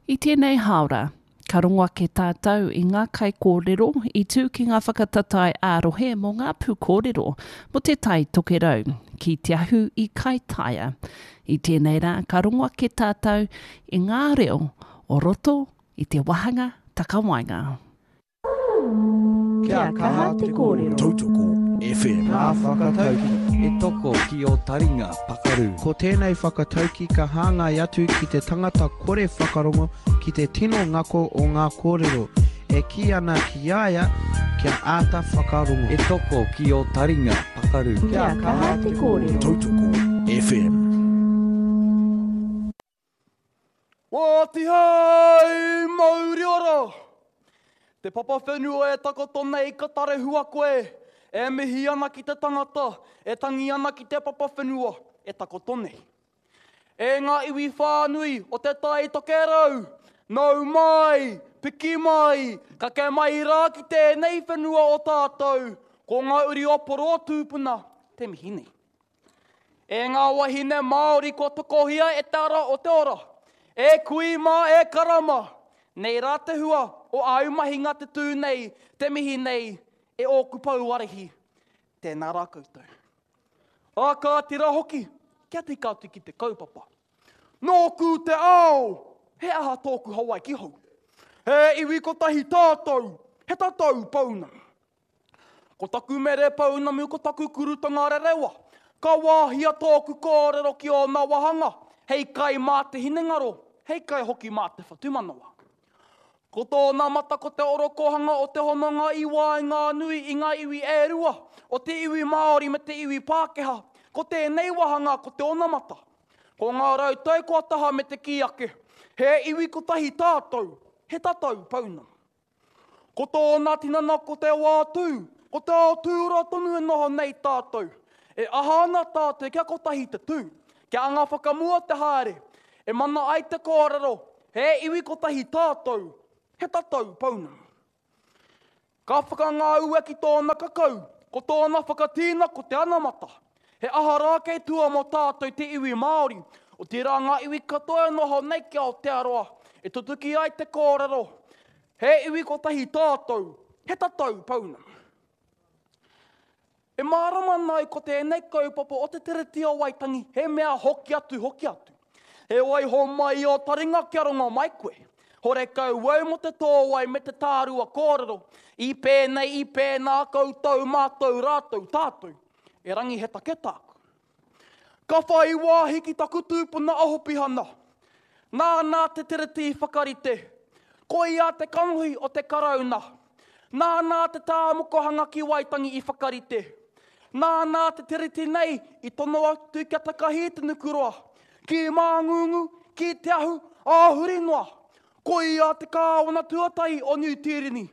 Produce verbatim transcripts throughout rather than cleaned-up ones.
I tēnei hāora, ka rongo ake tātou i ngā kaikōrero i tū ki ngā whakatatae ā-rohe mō ngā pūkōrero mō te Tai Tokerau ki Te Ahu i Kaitaia. I tēnei rā, ka rongo ake tātou i ngā reo o roto i te wāhanga takawaenga. Kia kaha te kōrero. Tautoko F M. Ngā whakatauki. E toko ki o taringa pakaru. Ko tēnei whakatauki ka hāngai atu ki te tangata kore whakarongo ki te tino ngako o ngā kōrero. E kī ana ki a ia kia āta whakarongo. E toko ki o taringa pakaru. Kia kaha te kōrero. Tautoko F M. Wāti hei mauri ora! Te papa whenua e takoto nei ka tarehua koe, e mihi ana ki te tangata, e tangi ana ki te papa whenua e takoto nei. E ngā iwi whānui o te Tai Tokerau, nau mai, piki mai, kake mai rā ki tēnei whenua o tātou, ko ngā uri o poro tūpuna te mihi nei. E ngā wahine Māori kua tokohia e te ara o te ora, e kui mā e karama, nei rā te hua o āu mahinga te tū nei, te mihi nei, e ōku pouarehi, tēnā rā koutou. Ā kā tira hoki, kia tika atu ki te kaupapa. Nōku te ao, he aha tōku Hawaiki hou. He iwi kotahi tātou, he tatau pounamu. Ko taku mere pounamu, ko taku kurutanga rerewa. Ka wāhia tōku kōrero ki ōna wahanga, hei kai mā te hinengaro, hei kai hoki mā te whatumanawa. Ko tōna mata ko te orokohanga o te hononga i waenga nui i ngā iwi e rua, o te iwi Māori me te iwi Pākehā, ko tēnei wahanga ko te onamata. Ko ngā rautau kua taha me te kī ake, he iwi kotahi tātou, he tatau pounamu. Ko tōna tinana ko te wā tū, ko te ao tūroa tonu e noho nei tātou. E aha ana tātou kia kotahi te tū, kia anga whakamua te haere, e mana ai te kōrero, he iwi kotahi tātou, he tatau pounamu. Ka whakangāua ki tōna kakau, ko tōna whakatīna ko te anamata. He aha rā kei tua mō tātou te iwi Māori, o te rā ngā iwi katoa e noho nei ki Aotearoa, e tutuki ai te kōrero, he iwi kotahi tātou, he tatau pounamu. E mārama nau ko tēnei kaupapa o te Tiriti o Waitangi, he mea hoki atu, hoki atu. He waiho mai o taringa kia rongo mai koe. Hore kau au mo te tōwai me te tārua kōrero. I pēnei, i pēnā koutou, mātou, rātou, tātou. E rangi he take tāku. Ka whai wāhi ki taku tūpuna a Hopihana. Nāna te Tiriti i whakarite. Koia te kanohi o te karauna. Nāna te tāmokohanga ki Waitangi i whakarite. Nāna te Tiriti nei i tono atu kia takahi te nukuroa. Ki Māngungu, ki Te Ahu, āhuri noa. Koia te kāwana tuatahi o Niu Tīreni.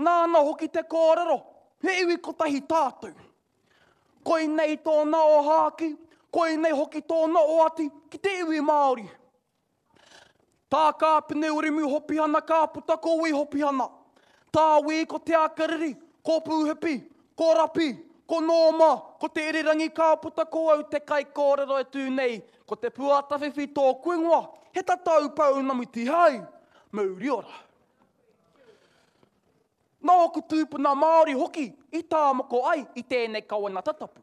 Nāna hoki te kōrero, he iwi kotahi tātou. Koinei tōna o hāki, koinei hoki tōna o ati ki te iwi Māori. Tā Kāpene Urimu Hopihana ka puta ko Wi Hopihana. Tā Wi ko Te Akariri, ko Pūhipi, ko Rapi, ko Nōma, ko Te Irirangi ka puta ko au te kaikōrero e tū nei, ko te Puatawhiwhi tōku ingoa, he tatau pounamu tihai, mauri ora. Nōku tūpuna Māori hoki i tāmoko ai i tēnei kawenata tapu.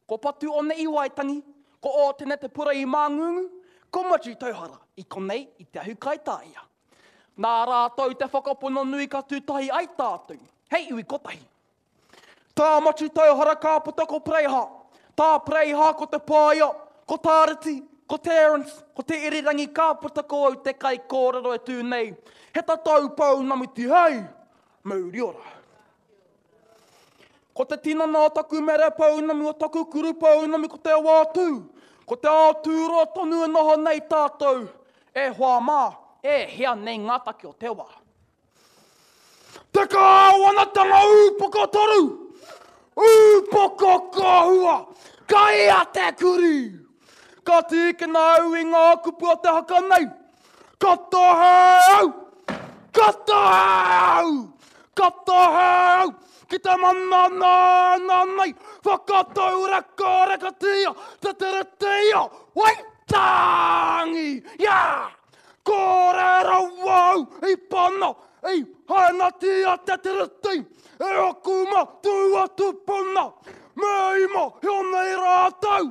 Ko Patu One i Waitangi, ko Ōtene Te Pura i Māngungu, ko Matiu Tauhara i konei i Te Ahu Kaitāia. Nā rātou te whakapono nui ka tūtahi ai tātou, hei iwi kotahi. Tā Matiu Tauhara ka puta ko Preiha, tā Preiha ko Te Paia, ko Tāriti, ko Terence, ko Te Irirangi ka puta ko au te kaikōrero e tū nei. He tatau pounamu tihei, mauri ora. Ko te tinana o taku mere pounamu, o taku kuru pounamu, ko te wā tū, ko te ao tūroa tonu e noho nei tātou, e hoa mā, e hea nei ngā take o te wā. Te kāwanatanga ūpoko toru, ūpoko kohua, kai a te kuri. Ka tīkina au i ngā kupu o te haka nei, ka tohe au, ka tohe au, ka tohe au, ki te mana nā nā nei, whakatau reka reka tia, te tere tia, Waitangi, ia! Kore rawa au i pana, i hainatia te Tiriti, e aku matua tupuna, me i mōhio nei rātou,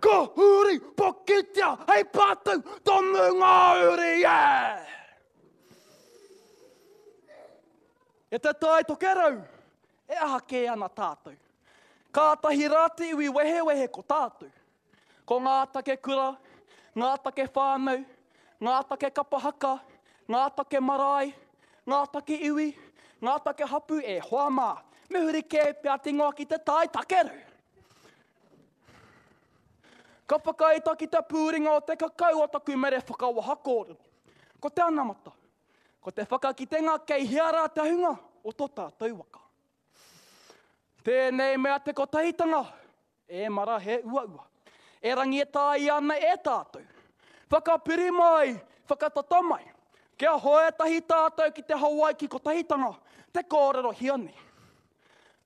ka huri pokitia hei patu tonu ngā uri e! E te Tai Tokerau, e aha kē ana tātou. Kātahi rā te iwi wehewehe ko tātou. Ko ngā take kura, ngā take whānau, ngā take kapa haka, ngā take marae, ngā take iwi, ngā take hapu e hoa mā. Me huri kē pea te ingoa ki te Tai Takerau. Ka whakaita ki te pūringa o te kakau o taku mere whakawaha kōrero. Ko te anamata, ko te whakakitenga kei hea rā te hunga o tō tātou waka. Tēnei mea te kotahitanga, e mara he uaua. Erangi e tāia ana e tātou. Whakapiri mai, whakatata mai. Kia hoe tahi tātou ki te Hawaiki kotahitanga, te kōrero hia nei.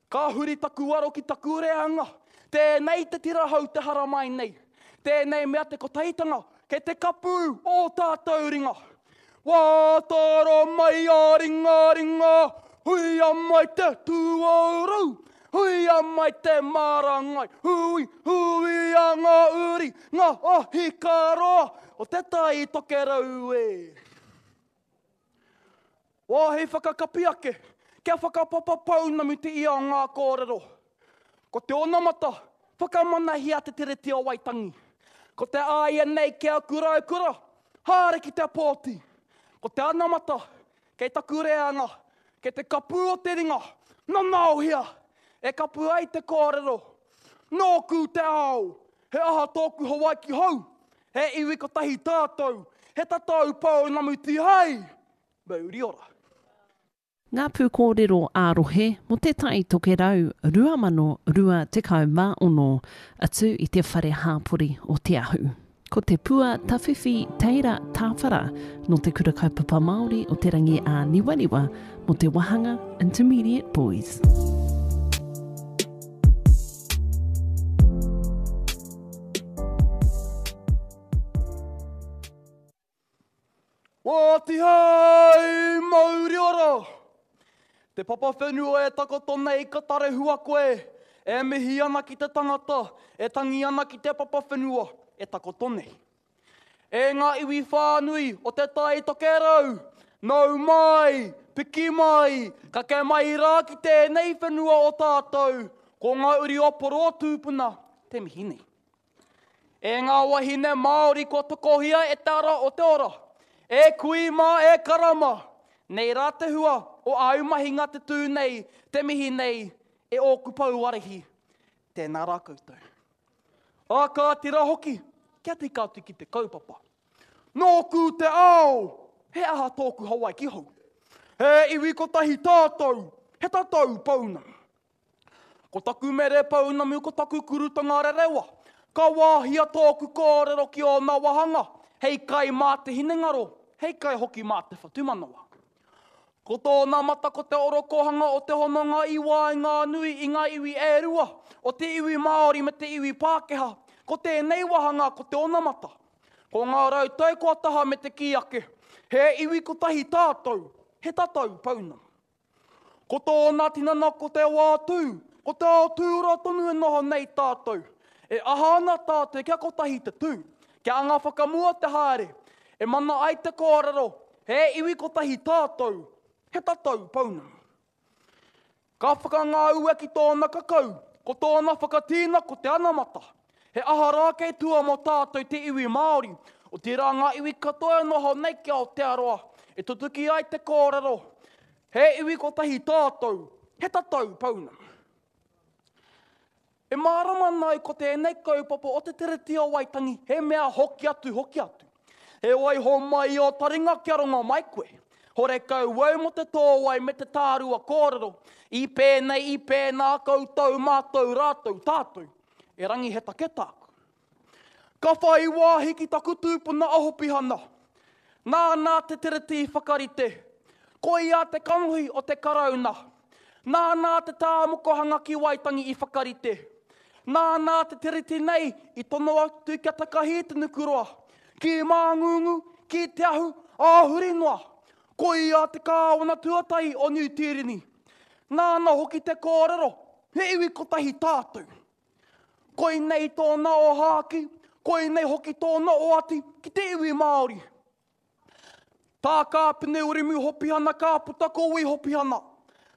Ka huri taku aro ki taku reanga, tēnei te tirahau te haramai nei. Tēnei mea te kotahitanga, kei te kapu o tātou ringa. Wā toro mai a ringa ringa, huia mai te tūauru, huia mai te marangai, hui, huia ngā uri, ngā ahi karoa o te Tai Tokerau e. Wāhi whakakapi ake, kia whakapapa pounamu te ia o ngā kōrero. Ko te onamata, whakamanahia te Tiriti o Waitangi. Ko te āia nei kia kura e kura, haere ki te pōti. Ko te anamata, kei taku reanga, kei te kapu o te ringa, nanaohia, e kapu ai te kōrero. Nōku te ao, he aha tōku Hawaiki hou, he iwi kotahi tātou, he tatau pounamu tihei, mauri ora. Ngā pūkōrero ā-rohe mō te Tai Tokerau rua mano rua tekau mā ono atu i te whare hāpori o Te Ahu. Ko te pua tawhiwhi teira tāwhara nō te Kura Kaupapa Māori o Te Rangi ā-Niwaniwa mō te wahanga Intermediate Boys. Wā tihei mauri ora! Te papa whenua e takoto nei ka tarehua koe, e mihi ana ki te tangata, e tangi ana ki te papa whenua e takoto nei. E ngā iwi whānui o te Tai Tokerau, nau mai, piki mai, kake mai rā ki tēnei whenua o tātou, ko ngā uri o poro tūpuna te mihi nei. E ngā wahine Māori kua tokohia e te ara o te ora, e kui mā e karama, nei rā te hua o āu mahinga te tū nei, te mihi nei, e ōku pouarehi, tēnā rā koutou. Ā kā tira hoki, kia tika atu ki te kaupapa. Nōku te ao, he aha tōku Hawaiki hou. He iwi kotahi tātou, he tatau pounamu. Ko taku mere pounamu, ko taku kurutanga rerewa. Ka wāhia tōku kōrero ki ōna wahanga, hei kai mā te hinengaro, hei kai hoki mā te whatumanawa. Ko tōna mata ko te orokohanga o te hononga i waenga nui i ngā iwi e rua, o te iwi Māori me te iwi Pākehā, ko tēnei wahanga ko te onamata. Ko ngā rautau kua taha me te kī ake, he iwi kotahi tātou, he tatau pounamu. Ko tōna tinana ko te wā tū, ko te ao tūra tonu e noho nei tātou. E aha ana tātou kia kotahi te tū, kia anga whakamua te haere, e mana ai te kōrero, he iwi kotahi tātou, he tatau pounamu. Ka whakangāua ki tōna kakau, ko tōna whakatīna ko te anamata. He aha rā kei tua mō tātou te iwi Māori, o te rā ngā iwi katoa e noho nei ki Aotearoa, e tutuki ai te kōrero, he iwi kotahi tātou, he tatau pounamu. E mārama nai ko tēnei kaupapa o te Tiriti o Waitangi, he mea hoki atu, hoki atu. He waiho mai o taringa kia rongo mai koe. Hore kau wau mo te tōwai me te tārua kōrero. I pēnei, i pēnā koutou, mātou, rātou, tātou. E rangi he take tāku. Ka whai wāhi ki taku tūpuna a Hopihana. Nā nā te Tiriti whakarite. Koia te kanohi o te karauna. Nā nā te tāmokohanga ki Waitangi i whakarite. Nā nā te Tiriti nei i tono atu kia takahi te nukuroa. Ki Māngungu, ki Te Ahu, ā huri noa. Ko ia te kāwana tuatahi o Niu Tīreni. Nāna hoki te kōrero, he iwi kotahi tātou. Koinei tōna ōhākī, koinei hoki tōna oati ki te iwi Māori. Tā Kāpene Wiremu Hopihana ka puta ko Wī Hopihana.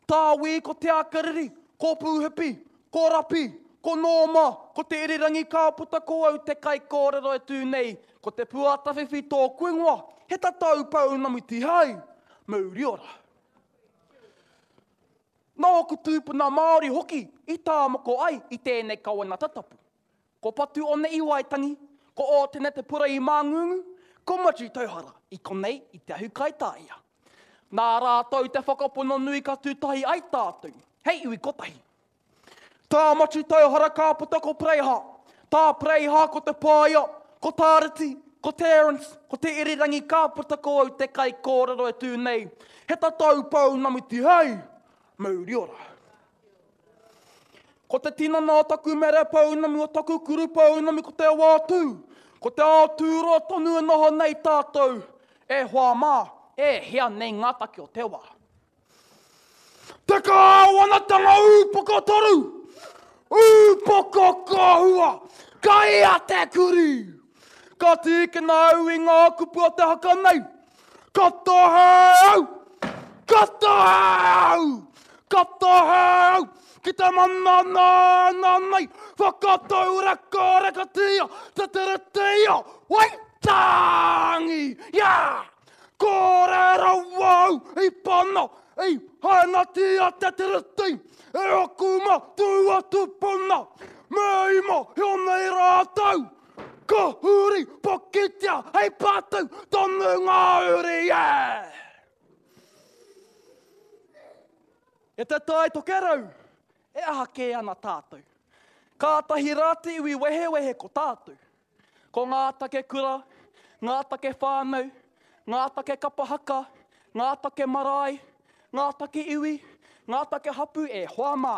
Tā Wī ko Te Ākariri, ko Pūhipi, ko Rapi, ko Nōma, ko Te Irirangi ka puta ko au te kaikōrero e tū nei, ko Te Puatawhiwhi tōku ingoa, he tatau pounamu tihai, mauri ora. Nā ōku tūpuna Māori hoki i tāmoko ai i tēnei kawenata tapu. Ko Patu One i Waitangi, ko Ōtene Te Pura i Māngungu, ko Matiu Tauhara i konei i Te Ahu Kaitāia. Nā rātou te whakapono nui ka tūtahi ai tātou, hei iwi kotahi. Tā Matiu Tauhara ka puta ko Preiha, tā Preiha ko Te Paia, ko Tāriti, ko Terence, ko Te Irirangi ka puta ko au te kaikōrero e tū nei, he tatau pounamu tihei, mauri ora. Ko te tinana o taku mere pounamu, o taku kuru pounamu, ko te wā tū, ko te ao tūroa tonu e noho nei tātou, e hoa mā, e hea nei ngā take o te wā. Te kāwanatanga ūpoko toru, ūpoko kohua, kai a te kuri. Ka tīkina au i ngā kupu o te haka nei, ka tohe au, ka tohe au, ka tohe au, ki te mana nā nā nei, whakatau reka rekatia, te teretia, Waitangi, yeah! Kore rawa au i pana, i hainatia te tereti, e aku matua tupuna, me ima hio nei rātou, ka huri pokitia hei patu tonu ngā uri, yeah! E te Tai Tokerau, e aha kē ana tātou. Kātahi rā te iwi wehewehe ko tātou. Ko ngā take kura, ngā take whānau, ngā take kapa haka, ngā take marae, ngā take iwi, ngā take hapu e hoa mā,